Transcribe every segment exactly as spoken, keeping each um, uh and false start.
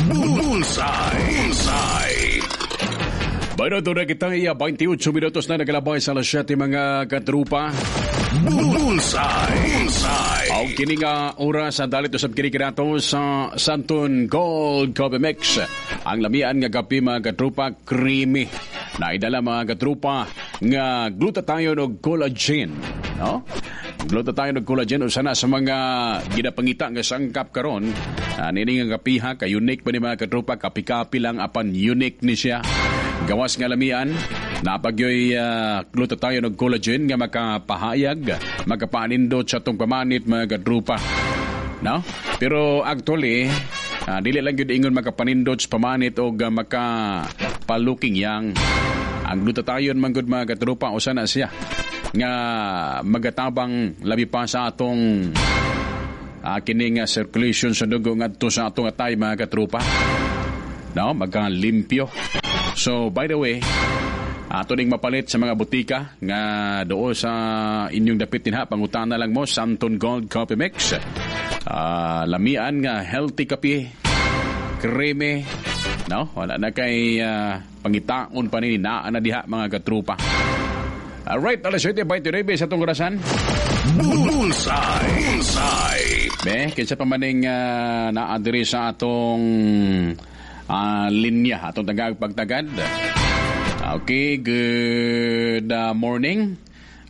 Bullseye. Bullseye. Bueno, doon na kita iya twenty-eight minutos na nagalabay sa alas siyete, mga katrupa. Bullseye. Bullseye. Ang kini nga oras sa dalit usab kini kinato sa Santon Gold Coffee Mix. Ang lamian nga kape, mga katrupa, creamy. Naidala, mga katrupa, nga glutathione og collagen. No? Glutathione og collagen usa na sa mga ginapangita nga sangkap karon. Uh, nini nga kapiha ka unique pa ni, mga katrupa, kapi-kapi lang apan unique ni siya. Gawas nga lamian, napagyoy uh, glutathione og collagen nga makapahayag, makapanindot sa atong pamanit, mga katrupa. No? Pero actually, uh, dili lang gyud ingon makapanindot sa pamanit og uh, makapaluking yang. Ang glutathione man gud, mga katrupa, usa na siya nga magatabang labi pa sa atong uh, kining uh, circulation sa dugo ngadto sa atong atay, mga katrupa. No, magkalimpyo. So, by the way, ato ning mapalit sa mga butika nga doo sa inyong dapit dinha, pangutana lang mo Santon Gold Coffee Mix. Uh, lamian nga healthy kape, creamy, no? Wala na kay uh, pangitaon pa nini, naa na diha, mga katrupa. Alright, alas siyete twenty-nine sa atong orasan. Bullseye. Bullseye. Be, kinsa pa maning uh, naa diri sa atong uh, linya, atong tagag pagtagad. Okay, good uh, morning.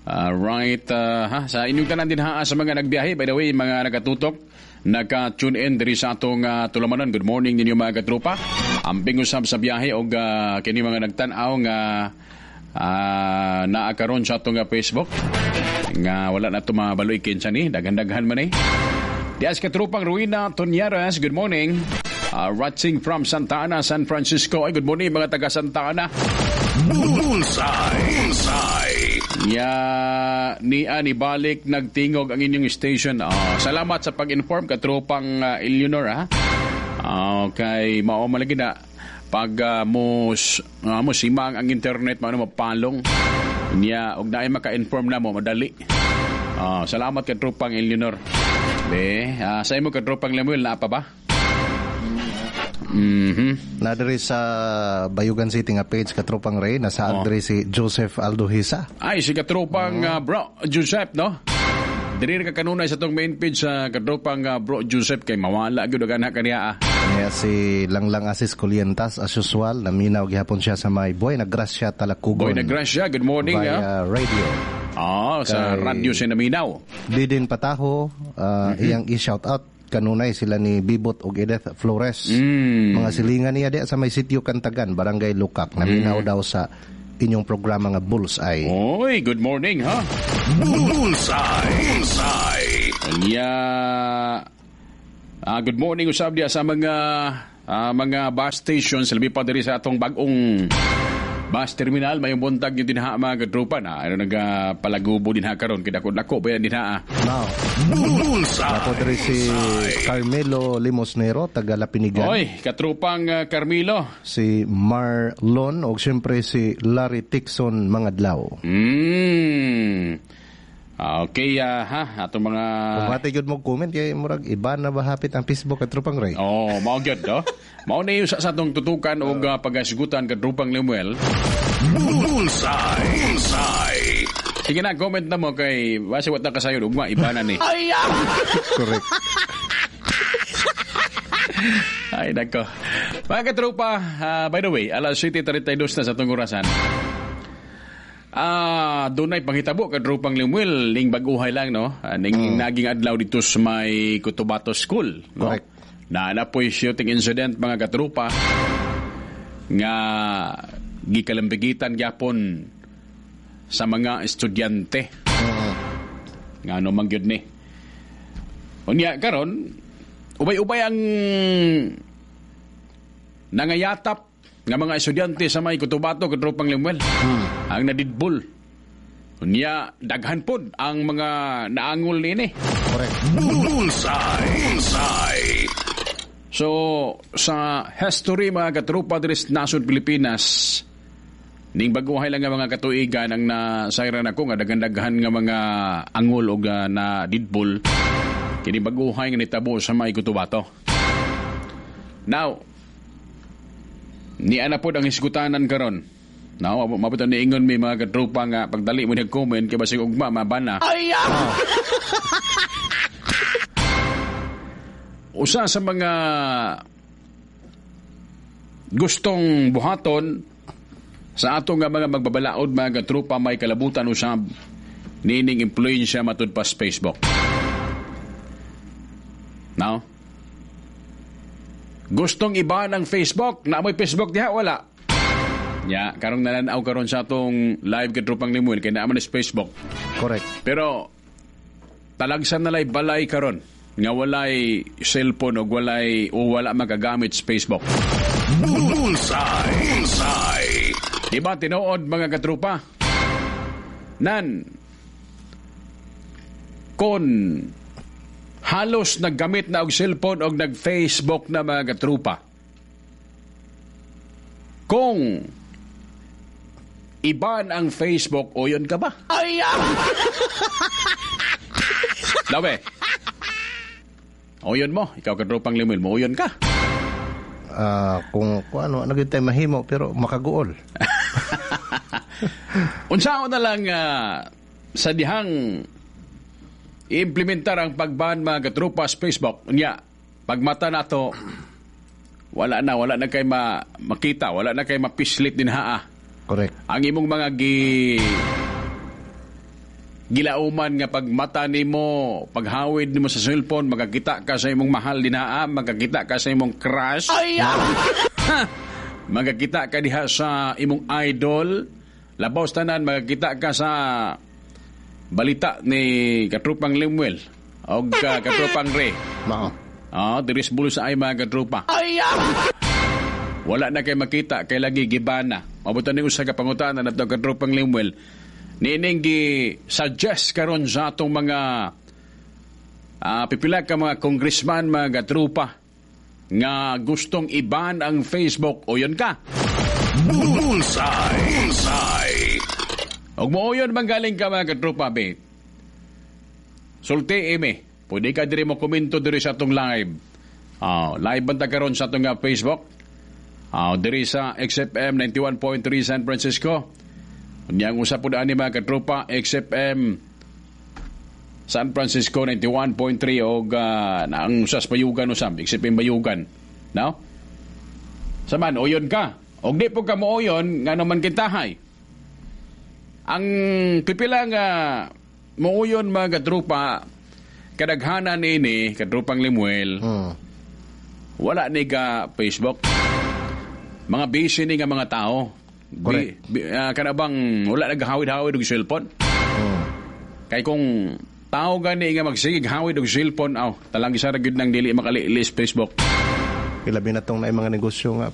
Uh, right, uh, ha, sa inyong tanan din ha, sa mga nagbiyahe, by the way, mga nakatutok, naka-tune in diri sa atong uh, tulamanan. Good morning ninyo, mga katropa. Amping usab sa biyahe og uh, kini mga nagtan-aw nga uh, naa karon sa atong uh, Facebook nga wala na ito mabaloy kinsa ni, daghan-daghan man eh. Dias katrupang Ruina Tonyaras, good morning. Uh, watching from Santa Ana, San Francisco. Ay, good morning mga taga Santa Ana. Bullseye. Bullseye. Ya ni ani balik nagtingog ang inyong station. Oh, salamat sa pag-inform, katropang uh, Eleanor ha. Okay, mao man lagi na pag uh, mo uh, mo simang ang internet, mao mapalong. Niya og naay maka-inform na mo madali. Oh, salamat, katropang Eleanor. Be, uh, sa imo, katropang Lemuel, naa pa ba? Mhm. Na diri sa Bayugan City nga page, katropang Ray, nasa oh. Diri si Joseph Aldohisa. Ay, si katropang oh. uh, bro Joseph, no? Diri ka kanunay sa tong main page sa katropang uh, bro Joseph kay mawala gyud og anak kaniya. Ah. Kaya si Langlang Asis Colientas, as usual, naminaw gihapon siya sa may Boy Nagrasya, Talakugon. Boy Nagrasya, good morning. Via ah. radio. Ah, sa kay radyo siya naminaw. Didin Pataho, uh, mm-hmm. iyang i-shout out kanunay sila ni Bibot og Edith Flores. Mm. Mga silingan niya di sa may sitio Kantagan, Barangay Lukak. Naminaw mm. daw sa inyong programa nga Bullseye. Oy, good morning ha. Bullseye. Bullseye. Nya uh, good morning usab diya sa mga uh, mga bus stations labi pa diri sa atong bag-ong bus terminal. Mayong buntag yung dinha, mga katropa na ano nagapalagubo dinha karon kay dako-dako pa yan dinha. Now, Bullseye. Ako diri si Carmelo Limosnero, taga Lapinigan. Oy, katrupang uh, Carmelo. Si Marlon og siyempre si Larry Tixon Mangadlaw. Mm. Okay, uh, ha, atong mga Kung mati gyud mo comment kay murag iba na ba hapit ang Facebook, katropang Ray. Oh, mao gyud do. Mao ni sa sa atong tutukan og uh, pagasigutan, katropang Lemuel. Bullseye. Bullseye. Sige na, comment na mo kay basi wa ta kasayod ugma iba na ni. Correct. Ay, nako. Mga katropa, uh, by the way, alas siyete thirty-two na sa atong orasan. Ah, dunay panghitabo, katropang Lemuel, ning baguhay lang, no? Ah, ning mm. naging adlaw dito sa may Cotabato School, no? Correct. Na na po'y shooting incident, mga katropa, nga gikalambigitan gyapon sa mga estudyante. Uh, Nga ano man gyud ni. Unya karon ubay-ubay ang nangayatap nga mga estudyante sa may Cotabato, katropang Lemuel. Hmm. Ang nadidbol. Unya daghan pod ang mga naangol niini. Correct. Bullseye. Bullseye. So, sa history, mga katropa, diri sa nasod Pilipinas, ning baguhay lang nga mga katuigan ang nasayran ako nga daghan-daghan nga mga angol og uh, na didbol kini baguhay nga nitabo sa may Cotabato. Now, Ni ana pod ang hisgutanan karon. No, mabot ni ingon mi mga katropa nga pagdali mo nag comment kay basig ugma mabana. Ay! Usa sa mga gustong buhaton sa atong nga mga magbabalaod mga katropa may kalabutan usab niining impluwensya matud pa sa Facebook. Now, gustong iba ng Facebook, na mo'y Facebook diha wala. Ya, karong nananaw karon sa atong live katropang Limuel kay naa man sa Facebook. Correct. Pero talagsan na lay balay karon nga walay cellphone o walay o wala makagamit sa Facebook. Bullseye. Bullseye. Di ba tinuod mga katrupa? Nan kon halos naggamit na og cellphone og nag-Facebook na mga katrupa. Kung iban ang Facebook, o yun ka ba? Ay! Lawe. O yun mo, ikaw katrupang Limuel mo, uyon ka. Ah, kung, kung ano, ano gyud tayo mahimo pero makaguol. Unsaon na lang ah, sa dihang iimplementar ang pagban mga katrupa sa Facebook. Unya, pagmata na to, wala na, wala na kay ma makita, wala na kay mapislit din haa. Correct. Ang imong mga gi gilauman nga pagmata nimo, paghawid nimo sa cellphone, makakita ka sa imong mahal din haa, makakita ka sa imong crush. Ay! Makakita ka diha sa imong idol. Labaw sa tanan, makakita ka sa balita ni Katrupang Lemuel o ka Katrupang Ray. Mao. Ah, diri sa bulos ay mga katropa. Wala na kay makita kay lagi gibana. Mabutan ni usa ka pangutana nato Katropang Lemuel. Niining gi suggest karon sa atong mga ah, pipila ka mga congressman, mga katropa nga gustong iban ang Facebook o yun ka. Bullseye. Bullseye. Og mooyon man galing ka mga katropa be. Sulti imi. Pwede ka diri mo komento diri sa atong live. Ah, live banta karon sa atong ah, Facebook. Ah, diri sa X F M ninety-one point three San Francisco. Unya ang usa pud ani mga katropa, X F M San Francisco ninety-one point three og ah, na ang usa sa Bayugan usab, X F M Bayugan. No? Saman uyon ka. Og di po ka mooyon ngano man kintahay. Ang pipila nga muuyon mga katropa, kadaghanan ini katrupang Limuel, Hmm. wala ni ka Facebook. Mga busy ni nga mga tao. Bi, Correct. bi, ah, kana bang wala naghawid-hawid og cellphone. Hmm. Kay kung tao gani nga magsigig hawid og cellphone, aw, talang isa ra gyud nang dili makalili sa Facebook. Ilabi na tong naay mga negosyo nga